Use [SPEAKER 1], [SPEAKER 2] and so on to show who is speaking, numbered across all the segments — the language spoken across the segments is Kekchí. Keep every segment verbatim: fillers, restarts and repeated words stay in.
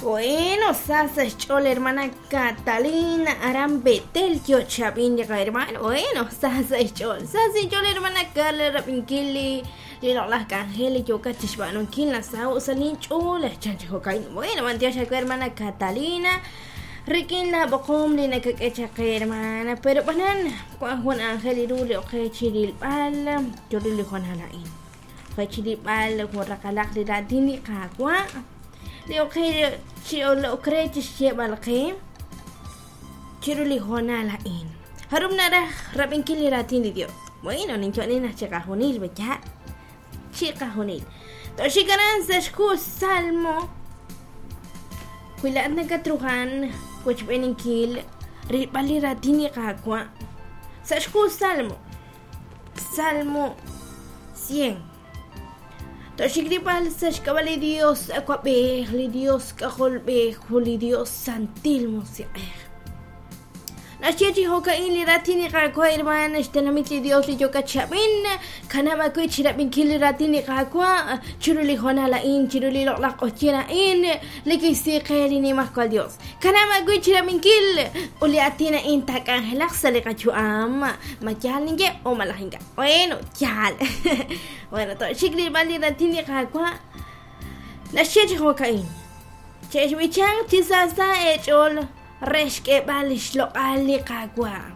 [SPEAKER 1] Bueno, sa xch'ool hermana Catalina aran Betel yo'chab'in li qahermano. Bueno, sa sa xch'ool. Sa sa xch'ool hermana Carla rab'inkil li li loq'laj k'anjel li yookat chixb'aanunkil nasaho' sa' linch'ool chan chi jo'ka'in. Bueno, b'antiox aawe hermana Catalina rik'in la b'oqom li nakak'e chaq qe hermana, pero b'anan wan jun anjel ru li oqe chirilb'al chiru li hoonal a'in. Oqe chirilb'al jun raqalaq li raatin li Qaawa' li oqe chi okre chixyeeb'al qe chiru li hoonal a'in. Jarub' naraj rab'inkil li raatin li Dios. Bueno, ninyo'nin naq chiqajunil b'eya' chiqajunil. Toxik aran sa' xhu Salmo wi laa'at nakatrujan wochb'eeninkil rilb'al li raatin li Qaawa' sa' xhu Salmo Salmo cien. Toxik rilb'al sa' xk'ab'a' li Dios awab'ej, li Dios k'ajolb'ej, li Dios santil musiq'ej. Naxye chi jo'ka'in li raatin li Qaawa' hermana xtenamit li Dios li yookat chab'in kanab' awe chirab'inkil li raatin li Qaawa' chiru li hoonal a'in chiru li loq'laj q'oqyin a'in li kixsi qe li Nimajwal Dios. Kanab' awe chirab'inkil ut li aatin a'in taak'anjelaq sa' li qayu'am. Ma yaal ninye o malaj ink'a'. Bueno, yaal. Bueno, toxik rilb'al li raatin li Qaawa' naxye chi jo'ka'in. Chexb'ichanq chi saasa eech'ool re xk'eeb'al xloq'al li Qaawa'.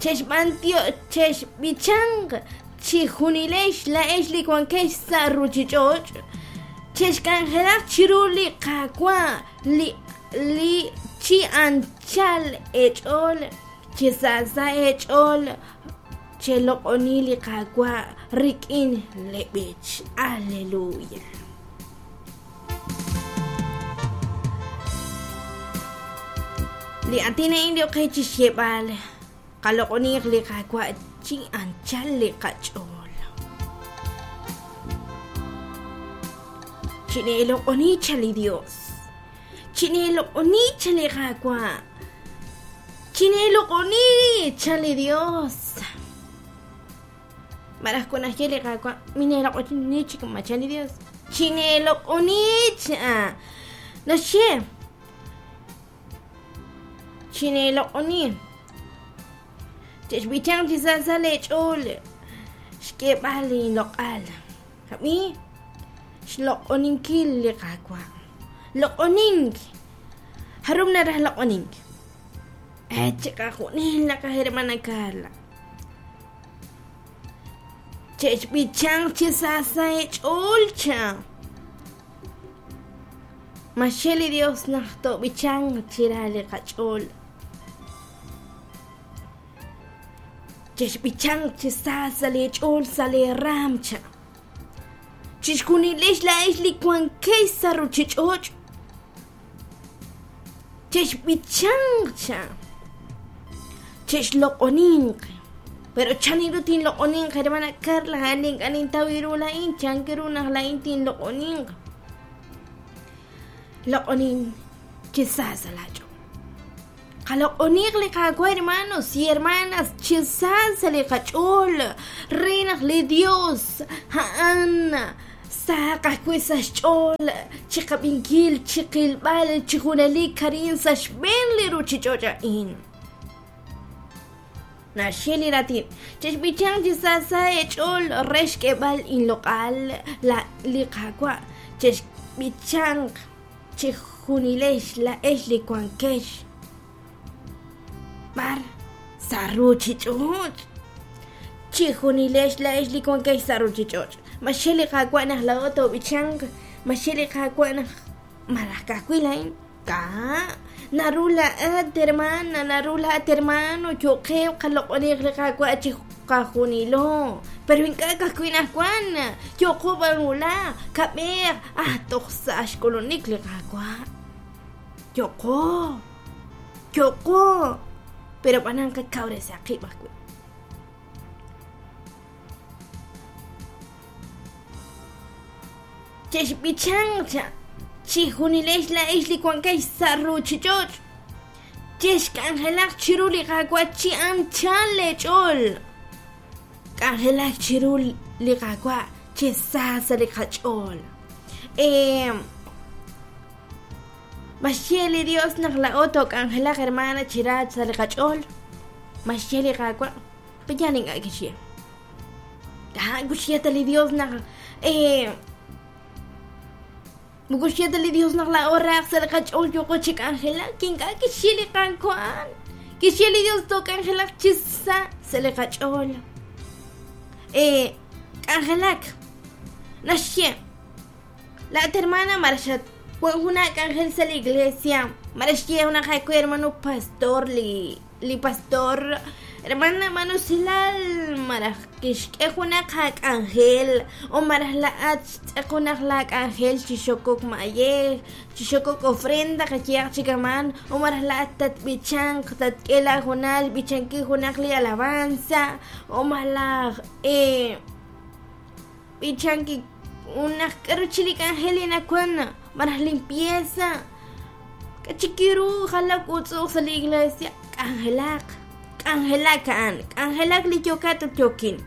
[SPEAKER 1] Chexb'antio chexb'ichanq chijunilex la'ex li wankex sa' ruchich'och'. Chexk'anjelaq chiru li Qaawa' li li chi anchal eech'ool, chi saasa eech'ool, cheloq'oni li Qaawa' rik'in leb'ich. Aleluya. Li aatin a'in li oqe chixyeeb'al qaloq'oniq li Qaawa' chi anchal li qach'ool. Chineeloq'oni cha li Dios. Chineeloq'oni cha li Qaawa'. Chineeloq'oni cha li Dios. Malaj kunaxye li Qaawa' mineeloq'oni chik ma cha li Dios. Chineeloq'oni cha. Naxye chineeloq'oni. Chexb'ichanq chi saasa leech'ool xk'eeb'al linloq'al. Ab'i xloq'oninkil li Qaawa'. Loq'onink. Jarub' naraj loq'onink. Eh, chiqajunil naqaj hermana Carla. Chexb'ichanq chi saasa eech'ool cha. Maxye li Dios naq toob'ichanq chira li qach'ool. Chexb'ichanq chi saasa leech'ool sa' leeraam cha. Chixjunilex la'ex li wankex sa' ruchich'och'. Chexb'ichanq cha. Chexloq'oninq. Pero chaniru tinloq'oninq hermana Carla a'an ink'a' nintaw ru la'in chankiru naq la'in tinloq'oninq. Loq'onin chi saasa laach'ool. Qaloq'oniq li Qaawa' hermanos y hermanas chi saasa li qach'ool re naq li Dios a'an saq ajwi' sa' xch'ool chiqab'inkil chiqilb'al chi junelik arin sa' xb'een li ruchich'och' a'in. Naxye li raatin chexb'ichanq chi saasa eech'ool re xk'eeb'al inloq'al la li Qaawa' chexb'ichanq chijunilex la'ex li wankex b'ar sa' ruchich'och'. Chijunilex la'ex li wankex sa' ruchich'och'. Maxye li Qaawa' naq laa'o toob'ichanq, maxye li Qaawa' naq malaj ka'ajwi' la'in ka' naru la'at hermana, naru la'at hermano yo'qeb' qaloq'oniq li Qaawa' chi qajunilo. Pero ink'a' ka'ajwi' naq wan yo'qo b'an wulaj kab'eq ah toj sa' xk'ulunik li Qaawa'. Yo'qo yo'qo pero b'anan qakawresaq qib' ajwi'. Chexb'ichanq cha chijunilex la'ex li wankex sa' ruchich'och'. Chexk'anjelaq chiru li Qaawa' chi anchal leech'ool. K'anjelaq chiru li Qaawa' chi saasa li qach'ool. Eh, Maxye li Dios naq laa'o took'anjelaq hermana chi ra sa' li qach'ool. Maxye li Qaawa', pe'yaal ink'a' kixye. Kaa kuxye ta li Dios naq eh moko xye ta li Dios naq laa'o raaq sa' li qach'ool yooqo chi k'anjelak, ink'a' kixye li Qaawa'. Kixye li Dios took'anjelaq chi sa' sa' li qach'ool. Eh k'anjelak naxye laat hermana maraxat wan jun k'anjel sa' la iglesia maraxye junaq awe hermano pastor li li pastor hermana manusilal maraj kixk'e junaq ak'anjel o maraj la'at xtz'eq junaq la k'anjel chi xokok mayej chi xokok ofrenda qayehaq chikaman o maraj la'at tatb'ichanq tatk'e la junal b'ichanki junaq li alabanza o malaj eh b'ichanki unaq k'aru chi li k'anjel li nawan maraj limpieza k'achikiru jalak utz'uuq sa' la iglesia k'anjelaq k'anjelak a'an k'anjelak li yokat ut yokin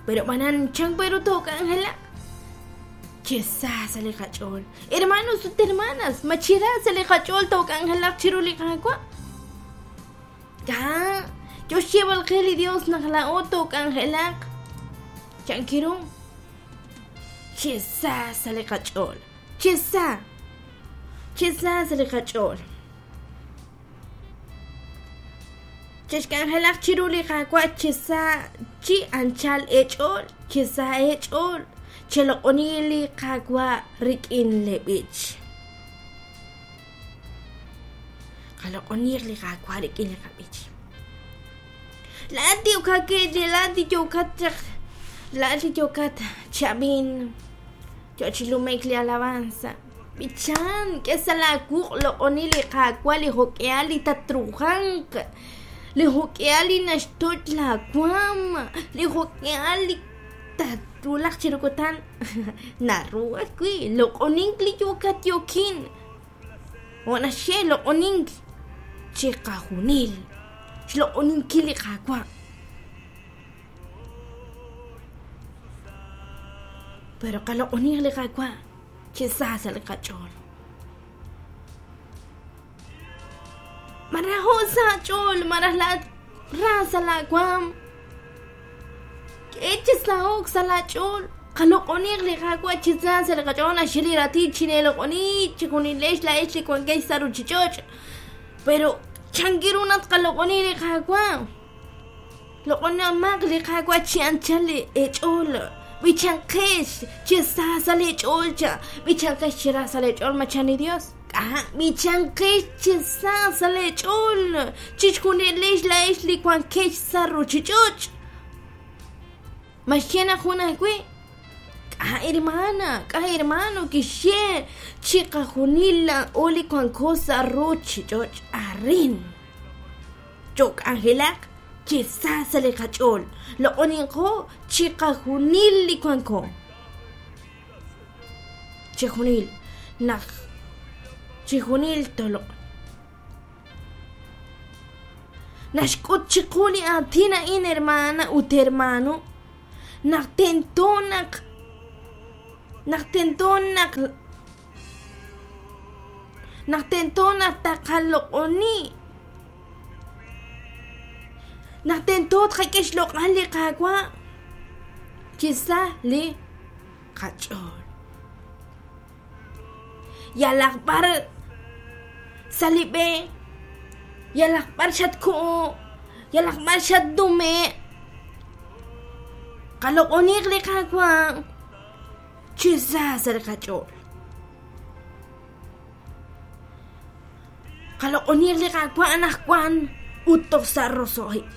[SPEAKER 1] pero b'anan chan peru took'anjelaq chi sa sa' li qach'ool hermanos ut hermanas ma chi ra sa' li qach'ool took'anjelaq chiru li Qaawa' ka yo xyeeb'al qe li Dios naq laa'o took'anjelaq chankiru chi sa sa' li qach'ool chi sa chi sa sa' li qach'ool chixk'anjelaq chiru li Qaawa' chi sa chi anchal eech'ool chi sa eech'ool cheloq'oni li Qaawa' rik'in li b'ich qaloq'oniq li Qaawa' rik'in li qab'ich laat yokake laat yokat chaq laat yokat chab'in yo chi lumek li alabanza b'ichan k'e sa' laaquq' loq'oni li Qaawa' li jok'ehal li tatrujanq li jok'ehal li naxtoch laawaam li jok'ehal li tatwulaq chiru kutan naru ajwi' loq'onink li yokat yokin jo' naxye loq'onink chiqajunil xloq'oninkil li Qaawa' pero qaloq'oniq li Qaawa' chi sa sa' li qach'ool marajo' sa' ch'ool maraj laat ra sa' laawaam k'e chi saho'k sa' laach'ool qaloq'oniq li Qaawa' chi sa sa' li qach'ool naxye li raatin chineeloq'oni chijunilex laa'ex li wankex sa' ruchich'och' pero chankiru naq qaloq'oni li Qaawa' loq'onimaq li Qaawa' chi anchal li eech'ool b'ichanqex chi sa sa' leech'ool cha b'ichanqex chi ra sa' leech'ool machan li Dios k'a b'ichanqex chi sa sa' leech'ool chixjunilex laa'ex li wankex sa' ruchich'och' maxye naq jun ajwi' k'a hermana k'a hermano kixye chiqajunil laa'o li wanko sa' ruchich'och' arin chok'anjelaq chi sa sa' li qach'ool loq'oninqo chiqajunil li wanko chijunil naq chijunil toloq naxk'ut chiqu li aatin a'in hermana ut hermano naq tento naq naq tento naq naq tento naq taqaloq'oni naq tento tqak'e xloq'al li Qaawa' chi sa li qach'ool yalaq b'ar sa' li b'e yalaq b'ar xatku'u yalaq b'ar xatnume' qaloq'oniq li Qaawa' chi sa sa' li qach'ool qaloq'oniq li Qaawa' anaqwan ut toj sa' roso'jik